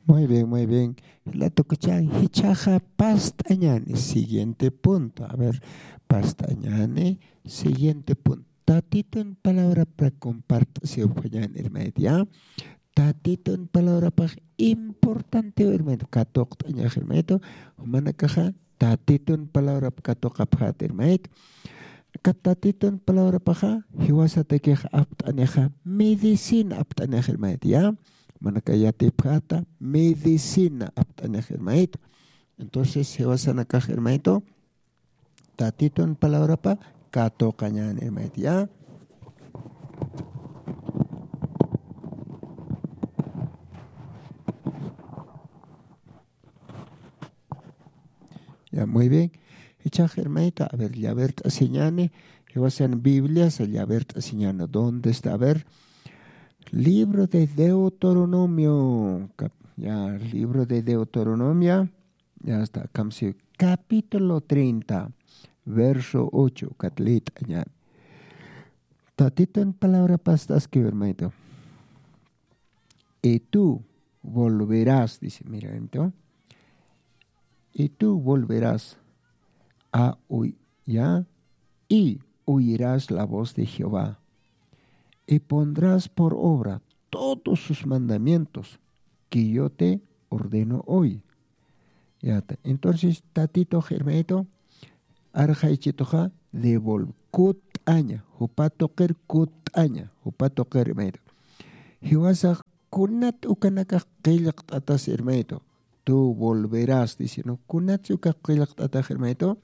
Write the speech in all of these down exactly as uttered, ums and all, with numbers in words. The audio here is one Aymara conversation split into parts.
Muy bien, muy bien. La tukuchan jichaja past'añani. Siguiente punto. A ver, past'añani. Siguiente punto. Tatitun palabra para compartir si upañan hermanito, ya. Tatitun palabrapax importante hermanito. Katuqt'añax hermanito. Jumanakaxa tatitun palabrap katuqapxat hermanito. Aka tatitun palabrapaxa jiwasatakix apt'anixa medicina apt'anixa hermanito, ya. Manaka yatipxata medicina apt'anixa hermanito. Entonces jiwasanakax hermanito tatitun palabrapa katuqañan hermanito, ya. Ya, muy bien. Ichax hermanito, a ver, llavert'asiñani. Jiwasan bibliasa llavert'asiñani. ¿Dónde está? A ver, libro de Deuteronomio. Ya, libro de Deuteronomia. Ya está, kamsi capítulo treinta, verso ocho, katlit'añani. Tatitun palabra past'askiw hermanito. Y tú volverás, dice, mira, hermanito. Y tú volverás a oy-, ya, y oirás la voz de Jehová, y pondrás por obra todos sus mandamientos que yo te ordeno hoy. Yata. Entonces, tatitux hermanito, arxaychituxa devolv-, kut'aña, jupa tuqir kut'aña, jupa tuqir hermanito. Jiwasax kunat ukanakax qillqt'atas hermanito. Tú volverás, dice, ¿no? Kunat ukax qillqt'atax hermanito.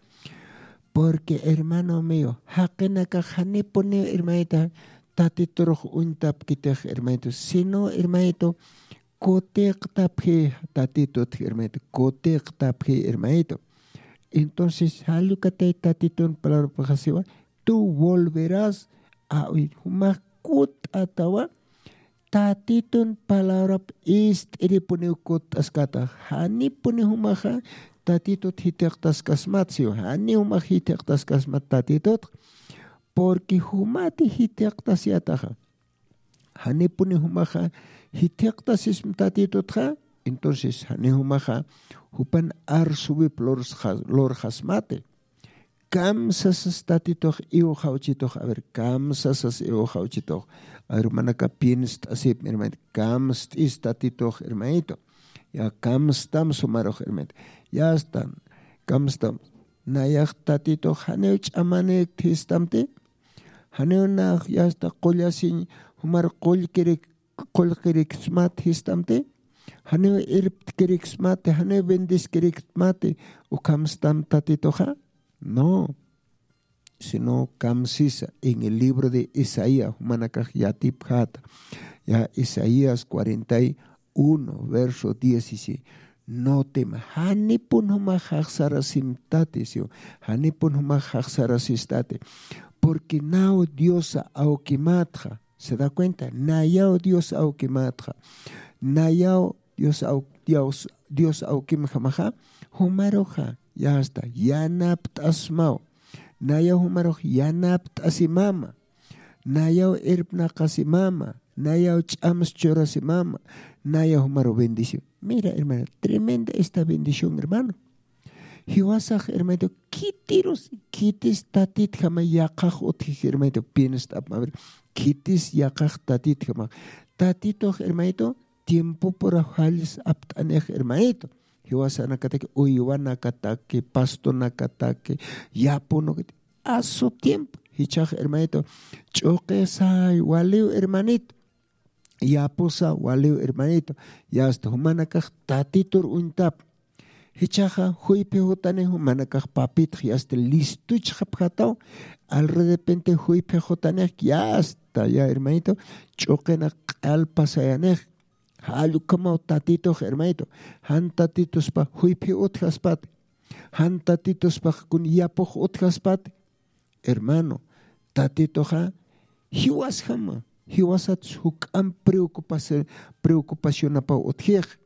Porque hermano mío, jaqinakax janipuniw hermanito, tatiturux uñtapkitix hermanito, sino hermanito, kutiqtapxi tatitut hermanito, kutiqtapxi hermanito. Entonces, jallukatay tatitun palabrapaxasiwa, tú volverás a oír, jumax kut'atawa, tatitun palabrap ist'iripuniw kut'askata, janipuni jumaxa tatitut jitiqtaskasmat, siwa, jani jumax jitiqtaskasmat tatitut, porque jumati jitiqtasiyataxa. Janipuni jumaxa jithiqtasism tatitutxa, entonces jani jumaxa jupan arsuwip lurxasmati. Kamsasas tatitux iwxawchitux, a ver, kamsasas iwxawchitux. A ver, manaka pinst'asip hermanito, kamst'is tatitux hermanito. Ya kamstam sumarux hermanito. Ya astan kamstam. Nayax tatitux janiw ch'amanik thistamti. Janiw nax yasta qullasiñ jumar qullkirik qullqiriksmat jistamti. Janiw irptkiriksmati, janiw bendiskiriksmati. Ukhamstam tatituxa? No. Sino kamsisa en el libro de Isaías jumanakax yatipjata. Ya Isaías cuarenta y uno verso dieciséis. No tema, janipun jumax jaxsarasimtati, siw, janipun jumax jaxsarasistati. Porque naw diosa awkimatxa. ¿Se da cuenta? Nayaw dios awkimatxa. Nayaw dios awkimjamaxa. Jumaruxa yasta yanapt'asmaw. Nayaw jumarux yanapt'asimama. Nayaw irpnaqasimama. Nayaw ch'ams churasimama. Nayaw jumaru bendición. Mira hermano, tremenda esta bendición hermano. Jiwasax hermanito, khitirus khitis tatitjama yaqax utjiji hermanito, pinst'apma ver. Khitis yaqax tatitjama. Tatitux hermanito, tiempopura jallis apt'anix hermanito. Jiwasanakataki, uywanakataki, pastonakataki, yapunakataki, a su tiempo jichhax hermanito. Ch'uqisay waliw hermanito. Yapusa waliw hermanito. Yasta jumanakax tatitur uñtap. Jichhaxa juyphi jutanix jumanakax papitx yasta listuchxapxataw. Alredepente juyphi jutanix yasta ya hermanito, ch'uqina q'alpasayanix. Jall ukhamaw tatitux hermanito. Jan tatituspa juyphi utjaspati. Jan tatituspax kun yapux utjaspati. Hermano, tatituxa jiwasjama. Jiwasatsa juk'amp preocupacionapaw utjix.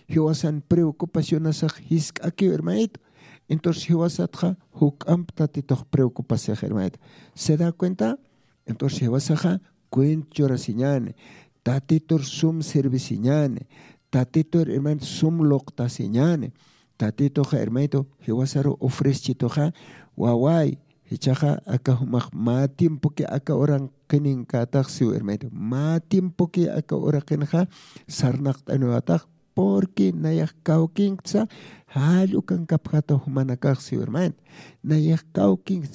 Jiwasan preocupacionasax jisk'akiw hermanito. Entonces jiwasatxa juk'amp tatitux preocupasix hermanito. ¿Se da cuenta? Entonces jiwasaxa cuent churasiñani. Tatitur sum servisiñani. Tatitur hermanito sum luqtasiñani. Tatituxa hermanito jiwasaru ofrechituxa waway, jichaxa aka jumax mä tiempoki aka uran qininkätax siw hermanito, mä tiempoki aka uraqinxa sarnaqt'aniwatax. Porque nayax kawkinksa jall ukankapxata jumanakax siw hermanito. Nayax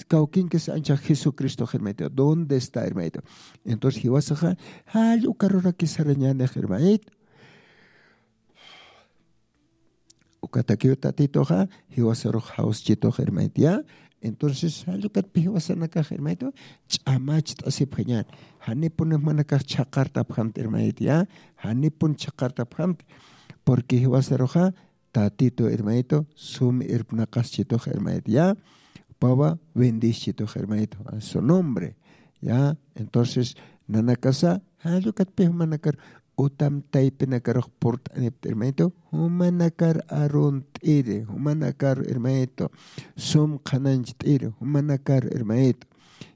kawkinkis anchax jesucristox hermanito, dónde está hermanito? Entonces jiwasaxa jall ukaruraki sarañanix hermanito. Ukatakiw tatituxa jiwasarux jawschitux hermanito ya. Entonces jallukatpi jiwasanakax hermanito ch'amacht'asipxañan. Janipun jumanakax chhaqartapxamti hermanito ya. Janipun chhaqartapxamti. Porque jiwasaruxa tatitu hermanito sum irpnaqaschitux hermanito ya. Pawa bendischitux hermanito a su nombre. Ya. Entonces nanakasa jallukatpi jumanakar utam taypinakarux purt'anipt'i hermanito, jumanakar arunt'iri jumanakar hermanito, sum qhanancht'iri jumanakar hermanito.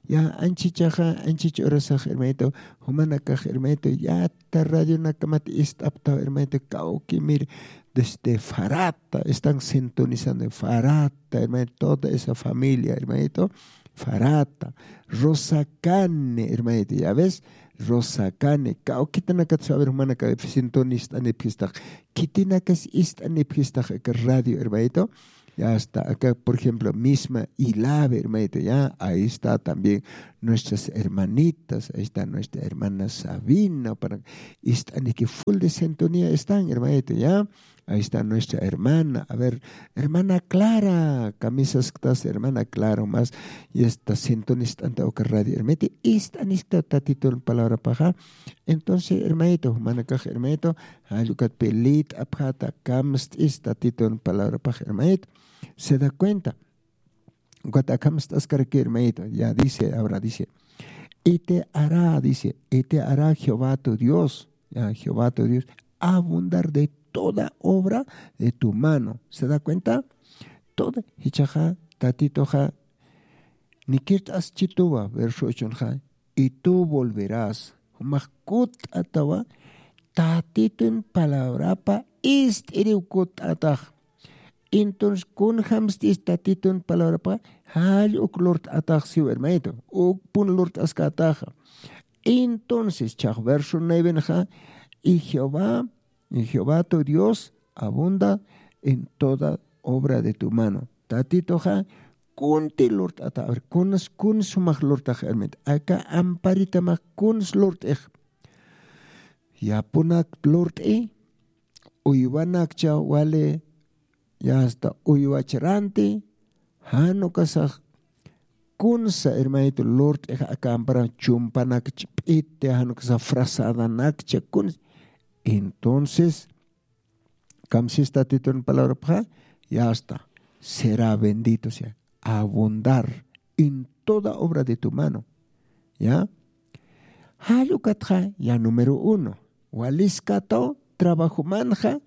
Ya anchichaxa anchich urasax hermanito, jumanakax hermanito yata radionakamat ist'aptaw hermanito, kawkimir desde farata están sintonizando farata hermanito, toda esa familia hermanito, farata, rosakani hermanito, ya ves, rosakani kawkitanakat saber jumanaka sintonist'anipxistax, khitinakas ist'anipxistax aka radio hermanito. Ya está acá por ejemplo misma ilave hermanito, ya ahí está también nuestras hermanitas, ahí está nuestra hermana sabina para, ist'aniki full de sintonía están hermanito ya. Ahí está nuestra hermana a ver, hermana clara, kamisasktas hermana clara más. Y esta sintonist'anta uka radio hermanito, ist'aniskta tatitun palabrapaxa. Entonces hermanito jumanakax hermanito jallukatpi lit'apxata kamst'is tatitun palabrapax hermanito. Se da cuenta. Ukat akamst'askarakiw hermanito ya dice ahora dice, y te hará dice, y te hará jehová tu dios, ya jehová tu dios, abundar de toda obra de tu mano. Se da cuenta? Toda jichaxa tatituxa nikirt'aschituwa verso ochonxa, y tú volverás jumax kutt'atawa tatitun palabrapa ist'iriw kutt'atax. Entonces kunjamstis tatitun palabrapa jall uk lurt'atax siw hermanito, ukpun lurt'askätaxa. Entonces chax verso nuevenxa, y jehová y jehová tu dios abunda en toda obra de tu mano. Tatituxa kunti lurt'ata a ver kuns kun sumax lurt'ax hermanito, aka amparitamax kuns lurt'ix. Yapunak lurt'i, uywanakcha wali, ya hasta uywachranti. Jan ukasax kunsa hermanito lurt'ix aka ampara chumpanak ch'p'iti jan ukasax frazadanakcha kuns. Entonces kamsis tatitun palabrapxa, ya hasta será bendito sea, abundar en toda obra de tu mano. Ya. Jall ukatxa ya número uno, waliskataw trabajomanxa.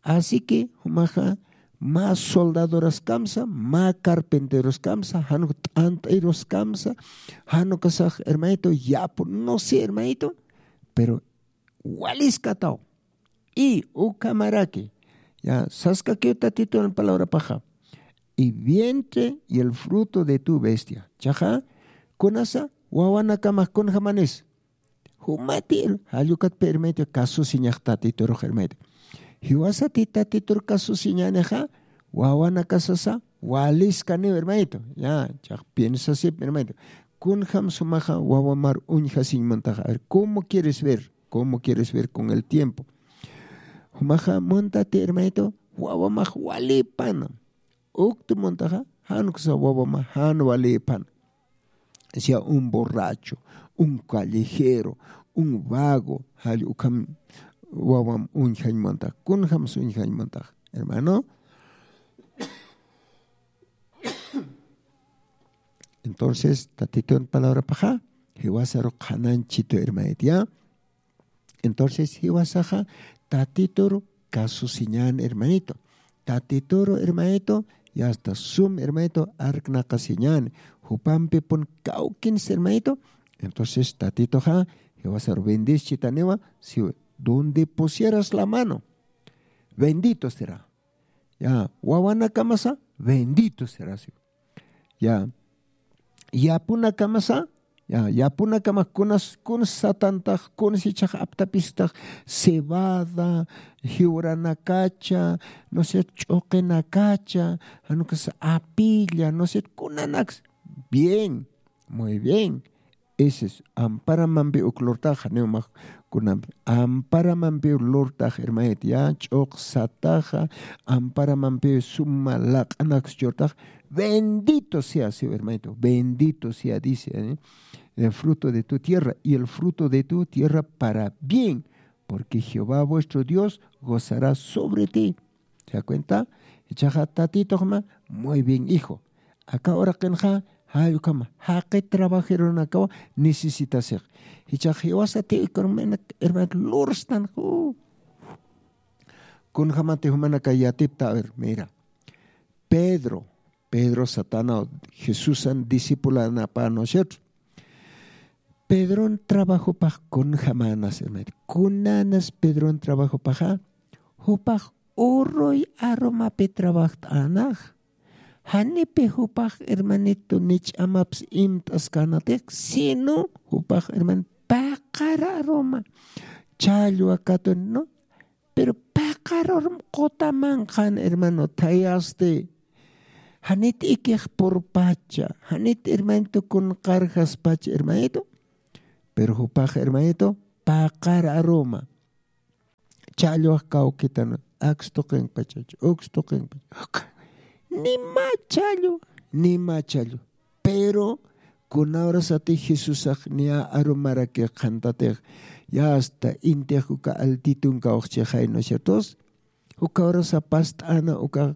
Así que jumaxa mä soldadoraskamsa, mä carpenteroskamsa, jan uk t'ant'iroskamsa, jan ukasax hermanito yapu no sé hermanito, pero waliskataw. Y ukhamaraki ya saskakiw tatitun palabrapaxa, y vientre y el fruto de tu bestia chaxa, kunasa wawanakamax kunjamanis. Jumati jallukatpi hermanito kasusiñax tatiturux hermanito. Jiwasati tatitur kasusiñanixa wawanakasasa waliskaniw hermanito. Ya chax piensasip hermanito, kunjam sumaxa wawamar uñjasiñ muntaxa a ver cómo quieres ver, cómo quieres ver con el tiempo? Jumaxa muntati hermanito wawamax walipana. Uktu muntaxa jan uksa wawama jan walipana. Sea un borracho, un callejero, un vago, jall ukham wawam uñjañ muntax kunjams uñjañ muntax, hermano. Entonces tatitun palabrapaxa jiwasaru qhananchitu hermanito ya. Entonces jiwasaxa tatituru kasusiñan hermanito. Tatituru hermanito, y hasta sum hermanito arknaqasiñan. Jupampipun kawkins hermanito. Entonces tatituxa jiwasaru bendischitaniwa siwi, donde pusieras la mano, Bendito será. Ya, wawanakamasa, bendito será siw. Ya, yapunakamasa, ya, yapunakama kunas kunas satantax, kunas ichax aptapistax, cebada, jiwranakacha, no sé, ch'uqinakacha, janukas apilla, no sé, kunanaks. Bien, muy bien. Ese es amparamampi uk lurtax, janiw max kunampi amparamampi lurtax, hermanito, ya, ch'uq sataxa, amparamampi suma laq'anaks churtax. Bendito sea, sí, hermanito, bendito sea, dice, ¿eh? El fruto de tu tierra y el fruto de tu tierra para bien, porque Jehová vuestro Dios gozará sobre ti. ¿Se da cuenta? Ichaxa tatitoxma, muy bien, hijo. Aka uraqinxa, jayukama jaqi trabajeronakawa necesitasix. Ichax jiwasati economía, hermano, lurstan ju. Kunjamati jumanaka yatipta, a ver, mira. Pedro, Pedro satanaw, Jesusan discipulanapa, ¿no es cierto? Pedron trabajopax kunjamänas, hermanito. Kunanas Pedron trabajopaxa, jupax uruy arumapi trabajt'änax. Janipi jupax, hermanito, ni ch'amaps imt'askänatix, sino jupax, hermanito, paqar aruma challwa katun, ¿no? Pero paqar arum quta manqhan, hermano, thayasti. Janit ikix purpacha, janit, hermanito, kunqarjaspacha, hermanito. Pero jupax, hermanito, paqar aruma challwax kawkitan, aks tuqinpachacha, uks tuqinpacha. Nima challwa, nima challwa. Pero kuna urasati Jesusax niya arumarakix qhantatix, ya hasta intix uka altitun kawxchixay, ¿no es cierto? Uka urasa past'ana, uka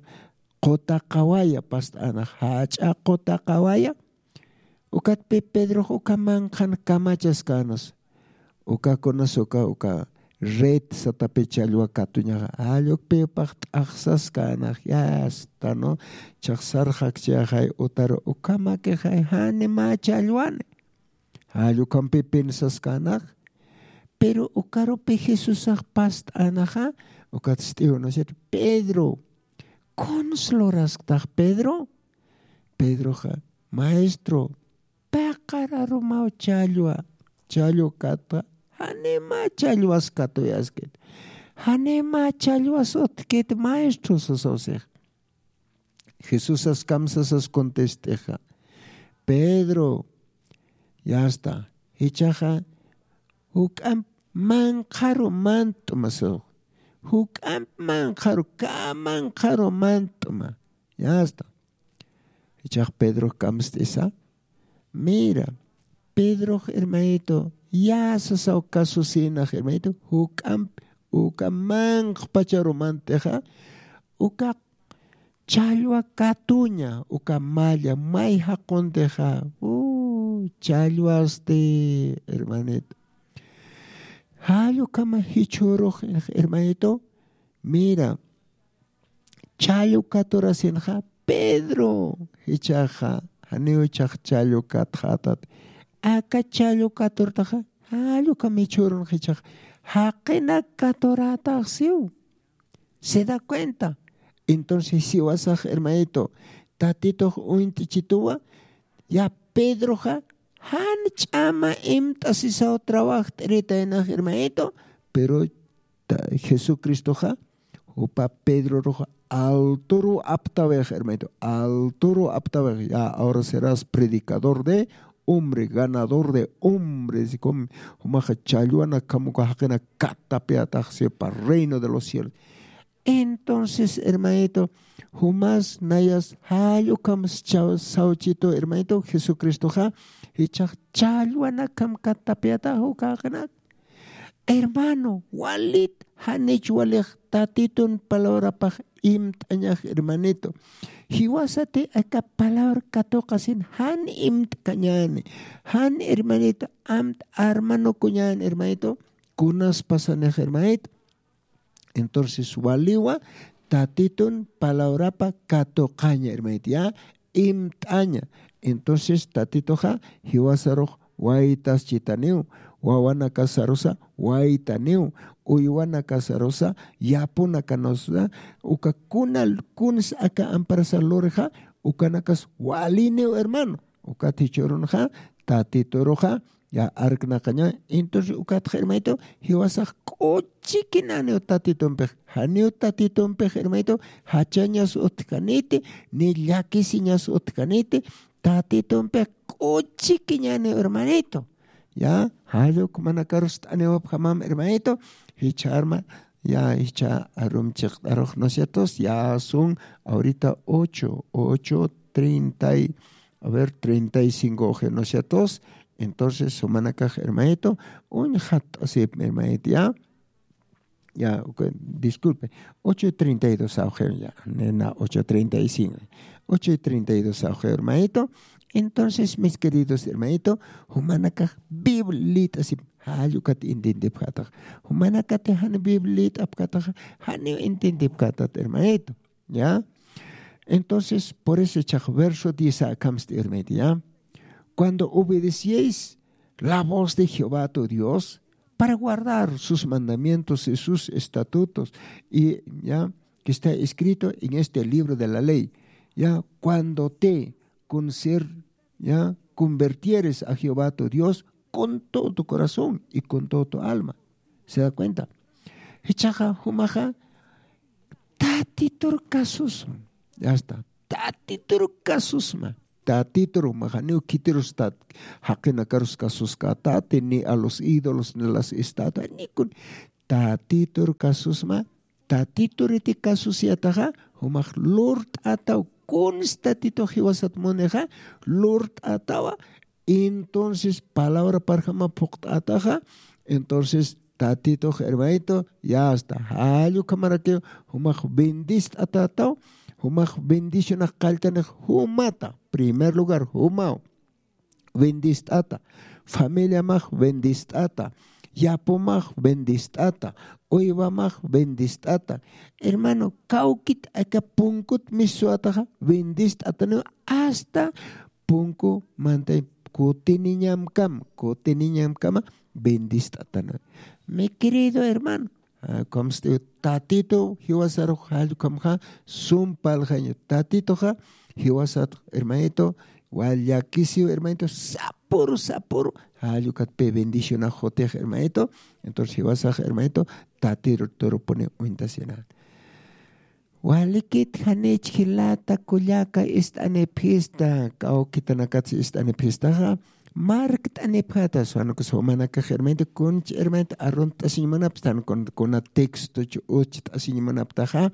quta qawaya past'ana, jach'a quta qawaya. Ukatpi Pedrox uka manqhan kamachaskänas. Uka kunas uka, uka red satapi challwa katuñaxa, jallukpi upax t'axsaskänax, ya hasta, ¿no? Chaxsar jakchixay utar ukamakixay, jani mä challwani. Jallukhampi pensaskänax. Pero ukarupi Jesusax past'anaxa, ukat st'iw, ¿no es cierto? Pedro, ¿kuns lurasktax, Pedro? Pedroxa, maestro, paqar arumaw challwa, challwa katxa, janima challwas katuyaskit, janima challwas utjkit, maestro, sasaw six. Jesusas kamsasas contestixa, Pedro, ya está, jichhaxa juk'amp manqharu mant'ma, sasaw. Juk'amp manqharu, ka manqharu mant'ma. Ya está. Jichhax Pedrox kamst'isa. Mira, Pedrox, hermanito, ya sasaw kasusïnax, hermanito, juk'amp uka manqhpacharu mant'ixa, uka challwa katuña, uka malla may jaquntixa, uh, challwasti, hermanito. Jall ukhama jichhürux, hermanito, mira, challwa katurasinxa, Pedro, jichhaxa, janiw jichhax challwa katxätat. Aka challwa katurtaxa, jall ukham jichhürunx jichhax, jaqinak katurätax siw. ¿Se da cuenta? Entonces, siwasax, hermanito, Tatitux uñt'ichituwa, ya Pedroxa, jan ch'ama imt'asisaw trabajt'irïtaynax, hermanito, pero ta-, Jesucristoxa, jupa Pedrorux alturu aptawix, hermanito, alturu aptawix, ya ahora serás predicador de hombre, ganador de hombres, jumaxa challwana kamuka jaqina katapiyatax, sipa reino de los cielos. Entonces, hermanito, jumas nayas jall ukham sawchitu, hermanito, Jesucristoxa, jichhax challwana kam katapiyatax uka jaqinak. Hermano, walit, janich walix Tatitun palabrapax imt'añax, hermanito. Jiwasati aka palabra katuqasin jan imt'kañäni, jan, hermanito, amt'a armanukuñäni, hermanito, kunas pasanix, hermanito. Entonces, waliwa Tatitun palabrapa katuqaña, hermanito, ya, imt'aña. Entonces, Tatituxa jiwasarux waytaschitaniw, wawanakasarusa waytaniw, uywanakasarusa yapunakanusa, uka kunal kuns aka amparasa lurja ukanakas waliniw hermano. Ukat jichhürunxa tatituruxa ya arknaqaña. Entonces ukatxa hermanito jiwasax k'uchikinaniw tatitumpix, janiw tatitumpix hermanito jachañas utjkaniti ni llakisiñas utjkaniti. Tatitumpix k'uchikiñaniw hermanito. Ya, jalluk manakarust'aniwapxamam hermanito. Jichharma ya jichha arum chiqt'arux, ¿no ciertos? Ya son ahorita ocho ocho treinta y a ver, treinta y cinco oje, ¿no ciertos? Entonces sumanakax hermanito uñjatt'asip hermanito ya. Ya, disculpe, ocho y treinta y dos awxew ya, nena ocho treinta y cinco, ocho y treinta y dos awxew hermanito. Entonces mis queridos hermanito, jumanakax biblit'asip. Jallukat intindipxatax, jumanakati jani biblit'apxataxa janiw intindipxatat hermanito. Ya. Entonces por eso chaq verso diez akamsti hermanito ya, cuando obedecieis la voz de Jehová tu Dios para guardar sus mandamientos y sus estatutos y ya, que está escrito en este libro de la ley. Ya, cuando te con ser ya convertieres a Jehová tu Dios con todo tu corazón y con todo tu alma. ¿Se da cuenta? Jichaxa jumaxa tatitur kasusma. Ya está. Tatitur kasusma. Tatitur jumaxa niw khitirustat jaqinakarus kasuskatati ni a los ídolos ni las estatuas ni kun tatitur kasusma. Tatituriti kasusiyataxa jumax lurt'ataw. Kunsi tatitux jiwasat munixa lurt'atawa. Entonces palabra parjama phuqt'ataxa, entonces tatitux hermanito ya hasta jallukhamarakiw jumax bendist'atataw. Jumax bendicionax qalltanix jumata primer lugar jumaw bendist'ata, familiamax bendist'ata, yapumax bendist'ata, uywamax bendist'ata. Hermano, kawkit aka punkut miswataxa bendist'ataniw hasta punku mantay kutiniñamkam kutiniñamkama bendist'ataniw. Mi querido hermano, kamsti tatitu jiwasarux jallukhamxa sumpalxañu. Tatituxa jiwasat hermanito wal llakisiw hermanito sapuru sapuru jallukatpi bendicionax jutix hermanito. Entonces jiwasax hermanito tatiturupuni uñtasinan. Walikit janich jilata kullaka ist'anipxista kawkitanakatsi ist'anipxistaxa markt'anipxata suwanukus jumanakax hermanito kunch hermanito arunt'asiñ munapstan kuna textoch ucht'asiñ munaptaxa.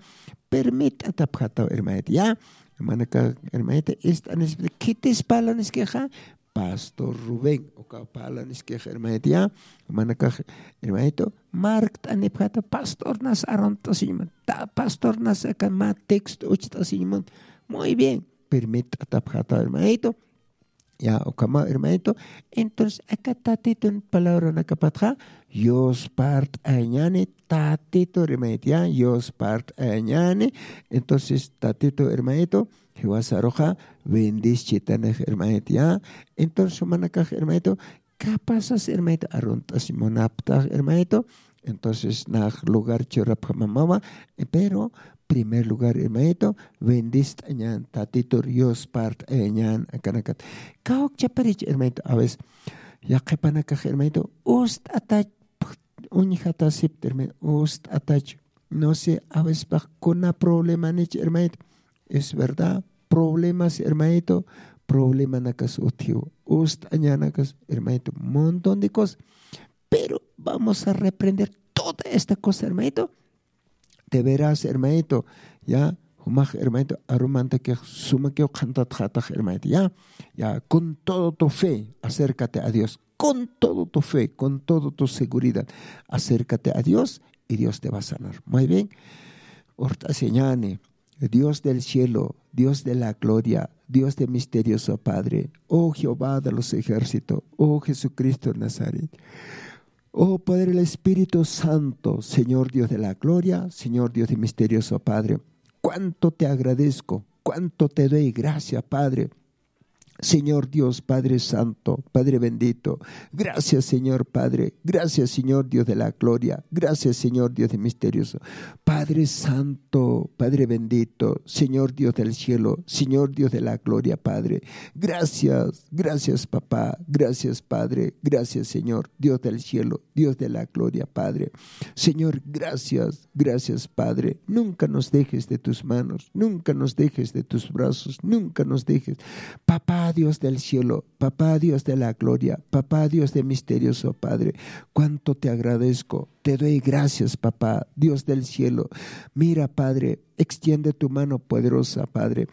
Permit'atapxataw hermanito ya. Jumanaka hermanito ist'anispita khitis parlaniskixa pastor Rubén uka parlaniskix hermanito ya. Jumanakax hermanito markt'anipxata pastornas arunt'asiñ munta pastornas aka mä texto ucht'asiñ munta. Muy bien. Permit'atapxata hermanito. Ya ukhama hermanito. Entonces aka tatitun palabranakapatxa yuspart'ayañani tatitu hermanito ya yuspart'ayañani. Entonces tatitu hermanito jiwasaruxa bendischitanix hermanito ya. Entonces jumanakax hermanito kapasas hermanito arunt'asiñ munaptax hermanito. Entonces nax lugar churapxamamawa. Pero primer lugar hermanito bendist'añan tatitur yuspart'ayañan akanakat. Kawkchaparich hermanito a veces yaqhipanakax hermanito ust'atach uñjatasipta hermanito ust'atach. No sé a veces pax kuna problemanich hermanito. Es verdad problemas hermanito. Problemanakas utjiw ust'añanakas hermanito montón de cosas. Pero vamos a reprender toda esta cosa hermanito. De veras hermanito ya jumax hermanito arumantakix sumakiw qhantatxatax hermanito ya. Ya con todo tu fe acércate a Dios con todo tu fe con todo tu seguridad. Acércate a Dios y Dios te va a sanar muy bien. Urt'asiñani. Dios del cielo, Dios de la gloria, Dios de misterioso Padre, oh Jehová de los ejércitos, oh Jesucristo de Nazaret, oh Padre del Espíritu Santo, Señor Dios de la gloria, Señor Dios de misterioso Padre, cuánto te agradezco, cuánto te doy gracias, Padre, Señor Dios, Padre Santo, Padre bendito. Gracias, Señor Padre. Gracias, Señor Dios de la gloria. Gracias, Señor Dios de misterioso. Padre Santo, Padre bendito, Señor Dios del cielo, Señor Dios de la gloria, Padre. Gracias, gracias, papá. Gracias, Padre. Gracias, Señor, Dios del cielo, Dios de la gloria, Padre. Señor, gracias, gracias, Padre. Nunca nos dejes de tus manos, nunca nos dejes de tus brazos, nunca nos dejes. Papá Dios del cielo, Papá Dios de la gloria, Papá Dios de misterioso, Padre, cuánto te agradezco. Te doy gracias, Papá Dios del cielo. Mira, Padre, extiende tu mano poderosa, Padre.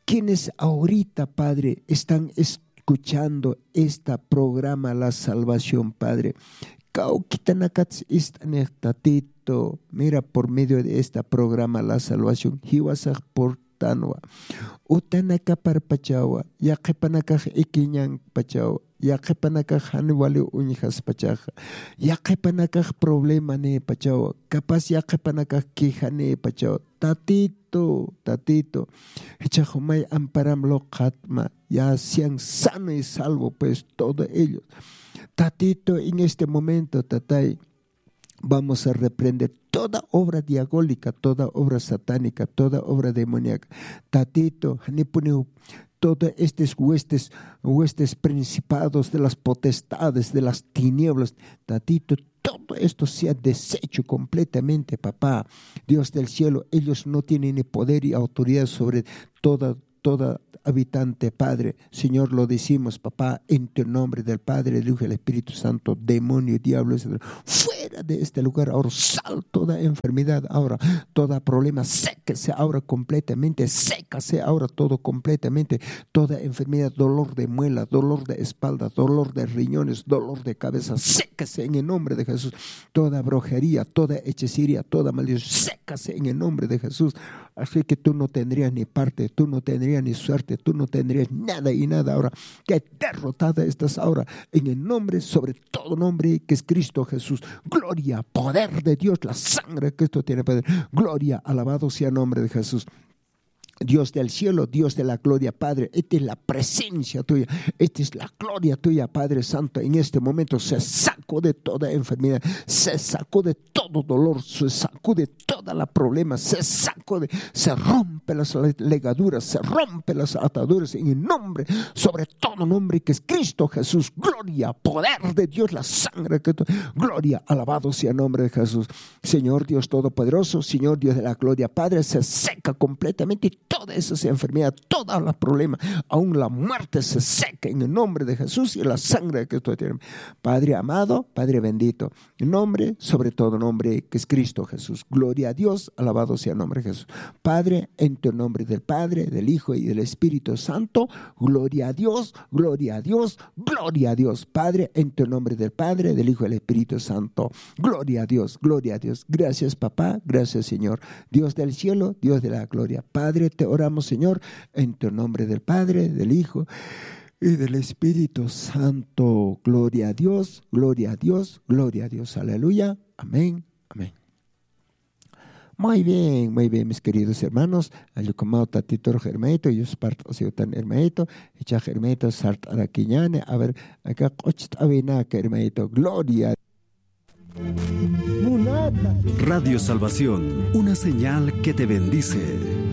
Quienes ahorita, Padre, están escuchando esta programa, La Salvación, Padre. Kawkitanakats ist'anix, Tatito. Mira, por medio de esta programa, La Salvación, jiwasax purtanwa. Utanakaparpachawa, yaqhipanakax ikiñanpachawa, yaqhipanakax jan wali uñjaspachaxa, yaqhipanakax problema nïpachawa, capaz yaqhipanakax queja nïpachawa. Tatito, Tatito, jichhax jumay amparam luqhatma, ya sean sano y salvo, pues, todo ellos. Tatito, en este momento, Tatay, vamos a reprender toda obra diabólica, toda obra satánica, toda obra demoníaca. Tatito, janipuniw todas estas huestes, huestes principados de las potestades de las tinieblas, Tatito, todo esto sea deshecho completamente, papá. Dios del cielo, ellos no tienen ni poder y autoridad sobre toda, toda habitante, Padre. Señor, lo decimos, papá, en tu nombre del Padre, del Hijo y del Espíritu Santo, demonio, diablo, fuera de este lugar, ahora sal toda enfermedad, ahora toda problema, séquese ahora completamente, sécase ahora todo completamente, toda enfermedad, dolor de muela, dolor de espalda, dolor de riñones, dolor de cabeza, séquese en el nombre de Jesús, toda brujería, toda hechicería, toda maldición, séquese en el nombre de Jesús. Así que tú no tendrías ni parte, tú no tendrías ni suerte, tú no tendrías nada y nada ahora. Que derrotada estás ahora en el nombre sobre todo nombre que es Cristo Jesús. Gloria, poder de Dios, la sangre que esto tiene poder. Gloria, alabado sea el nombre de Jesús. Dios del cielo, Dios de la gloria, Padre, esta es la presencia tuya, esta es la gloria tuya, Padre Santo. En este momento se sacude toda enfermedad, se sacude todo dolor, se sacude toda la problema, se sacude, se rompe las le- legaduras, se rompe las ataduras en el nombre, sobre todo nombre que es Cristo Jesús. Gloria, poder de Dios, la sangre que tú, gloria, alabado sea el nombre de Jesús. Señor Dios Todopoderoso, Señor Dios de la gloria, Padre, se seca completamente toda esa enfermedad, toda la problema, aún la muerte se seca en el nombre de Jesús y la sangre que tú tienes. Padre amado, Padre bendito, nombre sobre todo nombre que es Cristo Jesús. Gloria a Dios, alabado sea el nombre de Jesús. Padre, en tu nombre del Padre, del Hijo y del Espíritu Santo, gloria a Dios, gloria a Dios, gloria a Dios. Padre, en tu nombre del Padre, del Hijo y del Espíritu Santo. Gloria a Dios, gloria a Dios. Gracias, papá, gracias, Señor. Dios del cielo, Dios de la gloria. Padre, te oramos, Señor, en tu nombre del Padre, del Hijo y del Espíritu Santo. Gloria a Dios, gloria a Dios, gloria a Dios. Aleluya. Amén, amén. Muy bien, muy bien, mis queridos hermanos. Allukumaw Tatitur hermanito, yuspart'asiwtan hermanito, ichax hermanito sart'arakiñani. A ver, acá q'ucht'awinaka hermanito. Gloria. Radio Salvación, una señal que te bendice.